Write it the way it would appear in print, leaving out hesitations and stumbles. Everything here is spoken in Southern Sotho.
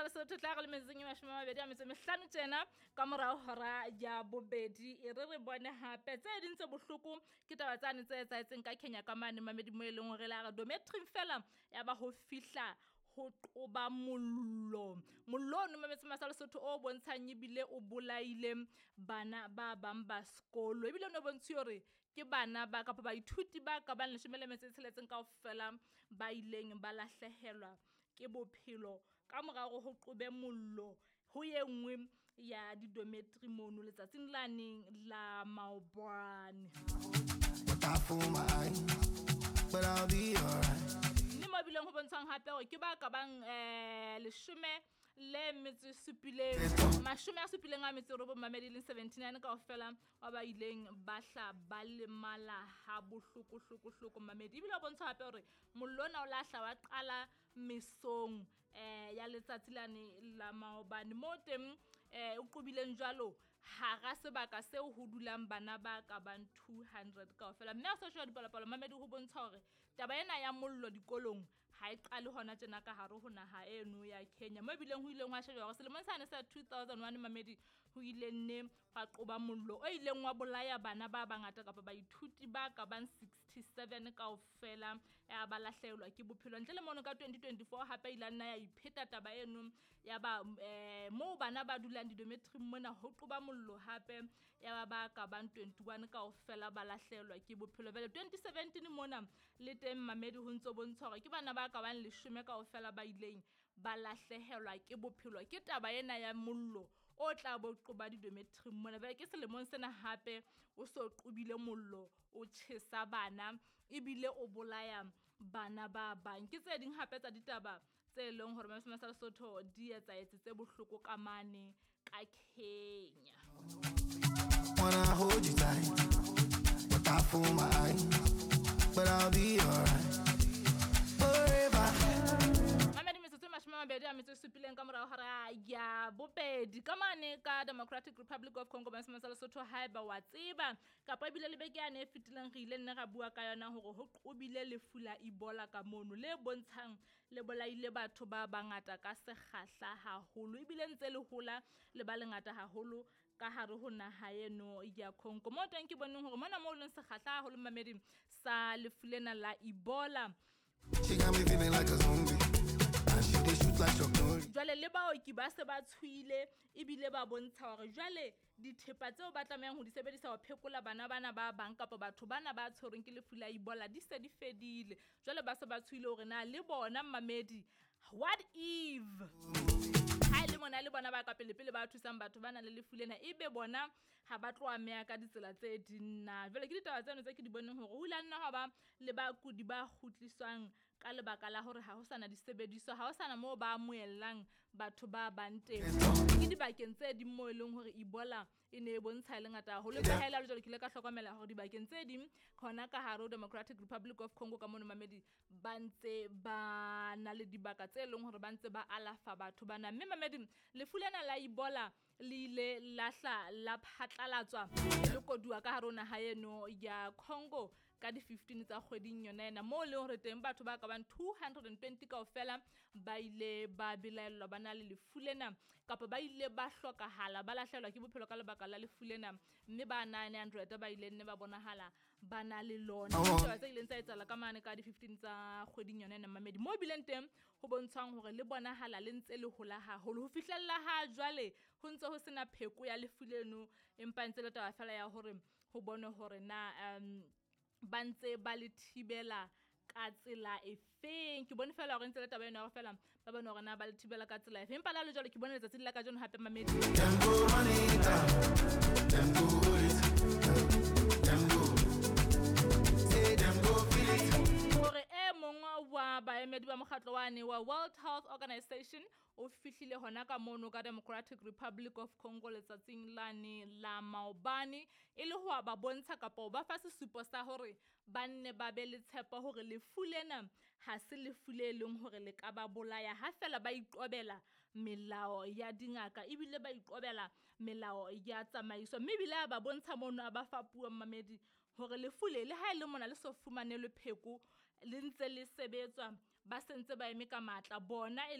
Lesotho tla re le metsotsong e 25 tjena ka morao hora ya bobedi. E re re bone hape tse ding tse bohloko ke taba tsane tse etsahetseng ka Kenya ka mane mamedi mo e leng hore la re dormitory fela ya ba ho fihla ho qoba mollo. Mollo ono mametse masa Lesotho o bontshang ebile o bolaile bana ba bang ba sekolo. Ebile o no bontshiwe hore ke bana ba kapa baithuti ba ka bang 16 kaofela ba ileng ba lahlehelwa ke bophelo ka mora hore ho qobe mollo ho e nngwe ya di-dormitory mono letsatsing lane la maobane. Water for my eyes, but I'll be alright. Mme mo bileng ho bontshang hape hore ke ba ka bang 17 79 mamedi leng 79 kaofela ba ba ileng ba hla ba lemala ha bohloko hloko hloko mamedi. Ebile ho bontsha hape hore mollo ona o lahla wa qala mesong ya letsatsi lane la maobane mo teng o qobileng jwalo hara sebaka seo ho dulang bana ba ka bang 200 kaofela. Mme ha sa sheba dipalopalo mamedi ho bontsha hore taba ena ya mollo dikolong ha e qale hona tjena ka hare ho naha eno ya Kenya. Mo ebileng ho ileng hwa shejwa hore selemong sane sa 2001 mamedi ho ile nne hwa qoba mollo o ileng wa bolaya bana ba bangata kapa baithuti ba ka bang 67 kaofela ya ba lahlehelwa ke bophelo. Ntle le mono ka 2024 hape ile nna ya ipheta taba eno ya ba moo bana ba dulang di-dormitory mona ho qoba mollo hape ya ba ka bang 21 kaofela ba lahlehelwa ke bophelo. Jwale 2017 mona le teng mamedi ho ntso bontsha hore ke bana ba ka bang 10 kaofela ba ileng ba lahlehelwa ke bophelo ke taba ena ya mollo o tla bo qoba di-dormitory mona. Jwale ke selemong sena hape o so qobile mollo o tjhesa bana ebile o bolaya bana ba bang. Ke tse ding hape tsa ditaba tse leng hore Mamesema sa Lesotho di etsahetse tse bohloko ka mane ka Kenya. Wanna hold you tight, but I fool my eyes, but I'll be alright forever. Mamedi metsotso e 27 ka morao hora ya bobedi ka mane ka Democratic Republic of Congo Mamesema sa Lesotho haeba wa tseba kapa ebile le beke yane e fetileng re ile nne ra bua ka yona hore ho qobile lefu la Ebola ka mono le bontshang le bolaile batho ba bangata ka sekgahla haholo ebile ntse le hola le ba lengata haholo ka hare ho naha eno ya Congo. Mo teng ke boneng hore mona mo leng sekgahla haholo mamedi sa lefu lena la Ebola. She got me feeling like a zombie. And she dey shoot like Chuck Norris. Jwale le baoki ba se ba tshohile ebile ba bontsha hore jwale dithepa tseo ba tlamehang ho di sebedisa ho phekola bana bana ba bang kapa batho bana ba tshwerweng ke lefu la Ebola di se di fedile. Jwale ba se ba tshohile hore na le bona mamedi, what if ha e le mona le bona ba ka pele pele ba thusang batho ba nang le lefu lena ebe bona ha ba tlo ameha ka ditsela tse ding na. Jwale ke ditaba tseno tse ke di boneng hore ho ile ha nna hwa ba le bakudi ba kgutliswang ka lebaka la hore ha ho sana disebediswa, ha ho sana moo ba amohellang batho ba bang teng. Ke dibakeng tse ding moo e leng hore Ebola e ne e bontsha e le ngata haholo. Empa ha e le jwalo ke ile ka hlokomela hore dibakeng tse ding hona ka hare ho Democratic Republic of Congo ka mono mamedi ba ntse ba na le dibaka tse leng hore ba ntse ba alafa batho bana. Mme mamedi lefu lena la Ebola le ile la hla la phatlalatswa le koduwa ka hare ho naha eno ya Congo ka di 15 tsa kgweding yona ena moo leng hore teng batho ba ka bang 220 kaofela ba ile ba belaellwa ba na le lefu lena kapa ba ile ba hlokahala ba lahlehelwa ke bophelo ka lebaka la lefu lena, mme ba 900 ba ile nne ba bonahala ba na le lona. Ditaba tse ileng tsa etsahala ka mane ka di 15 tsa kgweding yona ena mamedi moo bileng teng ho bontshwang hore le bonahala le ntse le hola haholo ho fihlella ha jwale ho ntse ho sena pheko ya lefu leno, empa ntse le taba fela ya hore ho bonwe hore na ba ntse ba le thibela ka tsela efeng. Ke bone fela hore ntse le taba ena hore fela ba bone hore na ba le thibela ka tsela efeng. Empa la le jwalo ke bone letsatsi la kajeno hape mamedi. Them go run it down, them go hold it, them go say them go feel it. Hore e mongwe wa baemedi ba mokgatlo wane wa World Health Organization o fihlile hona ka mono ka Democratic Republic of Congo letsatsing lane la maobane e le ho ba bontsha kapa ho ba fa sesupo sa hore ba nne ba be le tshepo hore lefu lena ha se lefu le leng hore le ka ba bolaya ha fela ba iqobela melao ya dingaka ebile ba iqobela melao ya tsamaiso. Mme ebile a ba bontsha mono a ba fa puo mamedi hore lefu le ha e le mona le so fumanelwe pheko le ntse le sebetswa ba sentse ba eme ka matla bona e